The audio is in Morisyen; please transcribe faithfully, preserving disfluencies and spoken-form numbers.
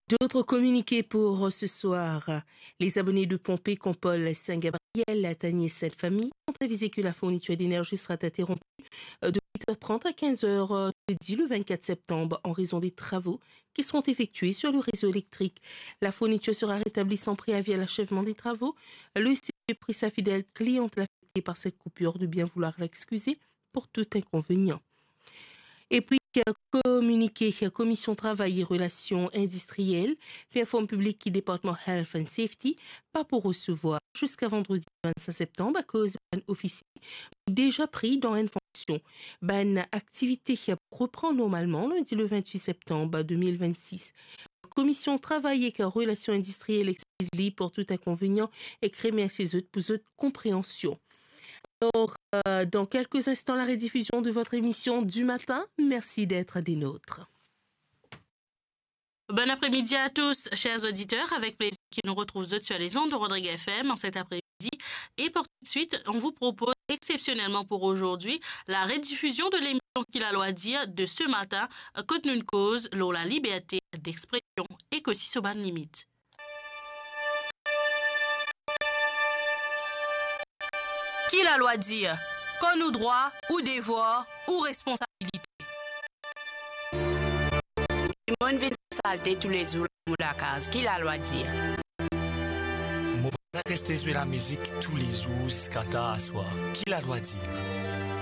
D'autres communiqués pour ce soir. Les abonnés de pompes Compol Saint-Gabriel, Latanier, Sainte-Famille sont avisés que la fourniture d'énergie sera interrompue de huit heures trente à quinze heures jeudi le vingt-quatre septembre en raison des travaux qui seront effectués sur le réseau électrique. La fourniture sera rétablie sans préavis à l'achèvement des travaux. Le C P Prisa Fidèle, cliente affectée par cette coupure, de bien vouloir l'excuser pour tout inconvénient. Et puis, euh, communiqué, euh, Commission Travail et Relations Industrielles pe inform piblik ki Departman Health and Safety pa pou resevwar ziska vandredi vingt-cinq septembre akoz bann ofisye deza pri dan enn fonksyon. Bann aktivite pou repran normalman lindi le vingt-huit septembre deux mille vingt-six. Commission Travail et Relations Industrielles exkiz li pour tout inconvénient ek remersie zot pour zot konpreansion. Alors, euh, dans quelques instants, la rediffusion de votre émission du matin. Merci d'être des nôtres. Bon après-midi à tous, chers auditeurs. Avec plaisir que nous retrouvons sur les ondes de Rodrigue F M en cet après-midi. Et pour tout de suite, on vous propose exceptionnellement pour aujourd'hui la rediffusion de l'émission Ki Lalwa Dir de ce matin, kot nou koz lor la liberté d'expression ek osi so bann limit. Ki lalwa dir? Kan nou drwa, ou devwar, ou responsabilite. Dimoun vinn salte toulezour lor mo lakaz. Ki lalwa dir? Mo vwazin reste zwe lamizik toulezour ziska tar aswar. Ki lalwa dir?